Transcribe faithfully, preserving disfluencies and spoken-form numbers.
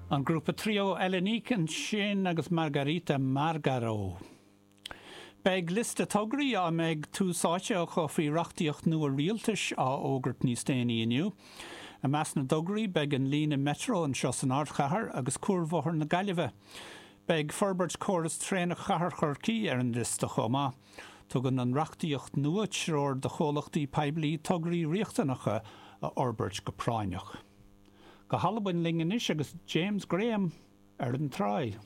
An grúpa Trio Elenique ansin agus Margarita Margaro. Beidh liosta tograí a mbeidh tús áite acu faoi reachtaíocht nua rialtais á fhógairt níos déanaí inniu. I measc na dtograí beidh an líne metro anseo san ardchathair agus Cuarbhóthar na Gaillimhe. Beidh forbairt córas traenach chathair Chorcaí ar an liosta chomh maith. Tugann an reachtaíocht nua treoir do chomhlachtaí poiblí tograí riachtanacha a fhorbairt go práinneach. Go hAlbain linn anois agus James Graham ar an tráigh.